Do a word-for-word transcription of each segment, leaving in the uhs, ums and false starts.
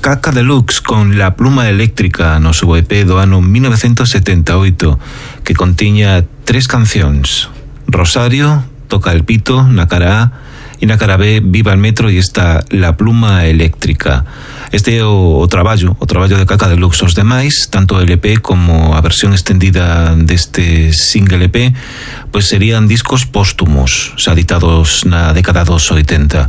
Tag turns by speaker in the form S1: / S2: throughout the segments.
S1: Caca Deluxe con La Pluma Eléctrica no seu E P do ano mil novecientos setenta e oito, que contiña tres cancións: Rosario, Toca el Pito na cara A, e na cara B, Viva el Metro, e está La Pluma Eléctrica. Este é o, o traballo, o traballo de Caca Deluxe. Os demais, tanto o L P como a versión extendida deste single E P, pois serían discos póstumos, xa editados na década dos oitenta.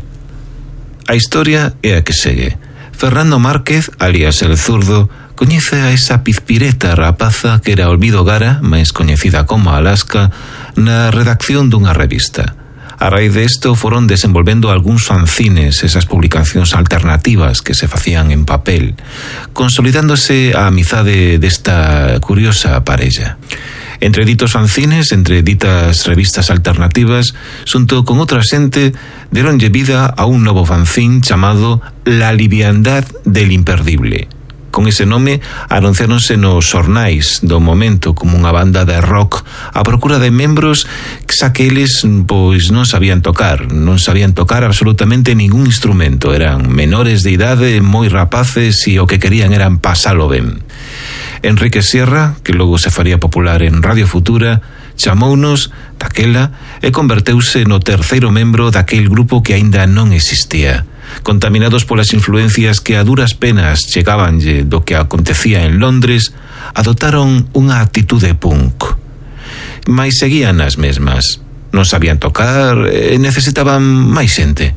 S1: A historia é a que segue. Fernando Márquez, alias El Zurdo, coñece a esa pizpireta rapaza que era Olvido Gara, máis coñecida como Alaska, na redacción dunha revista. A raíz de isto foron desenvolvendo algúns fanzines, esas publicacións alternativas que se facían en papel, consolidándose a amizade desta curiosa parella. Entre ditos fanzines, entre ditas revistas alternativas, xunto con outra xente, deronlle vida a un novo fanzín chamado La Liviandad del Imperdible. Con ese nome anunciáronse nos xornais do momento como unha banda de rock a procura de membros xa que eles pois non sabían tocar, non sabían tocar absolutamente ningún instrumento, eran menores de idade, moi rapaces e o que querían eran pasalo ben. Enrique Sierra, que logo se faría popular en Radio Futura, chamounos daquela e converteuse no terceiro membro daquel grupo que aínda non existía. Contaminados polas influencias que a duras penas chegabanlle do que acontecía en Londres, adotaron unha actitude punk. Mais seguían as mesmas. Non sabían tocar e necesitaban máis xente.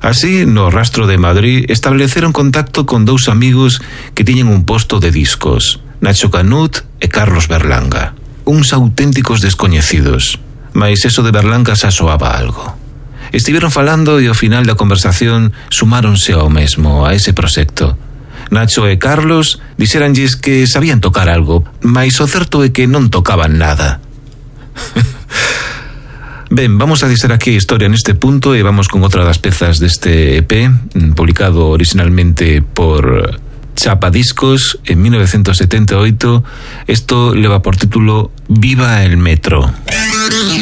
S1: Así, no rastro de Madrid, estableceron contacto con dous amigos que tiñen un posto de discos, Nacho Canut e Carlos Berlanga. Uns auténticos descoñecidos, mais eso de Berlanga xa soaba algo. Estiveron falando e ao final da conversación sumáronse ao mesmo, a ese proxecto. Nacho e Carlos dixeranlles que sabían tocar algo, mais o certo é que non tocaban nada. Ben, vamos a deixar aquí a historia neste punto e vamos con outra das pezas deste E P, publicado originalmente por Chapa Discos en mil novecientos setenta e oito. Esto leva por título Viva el Metro.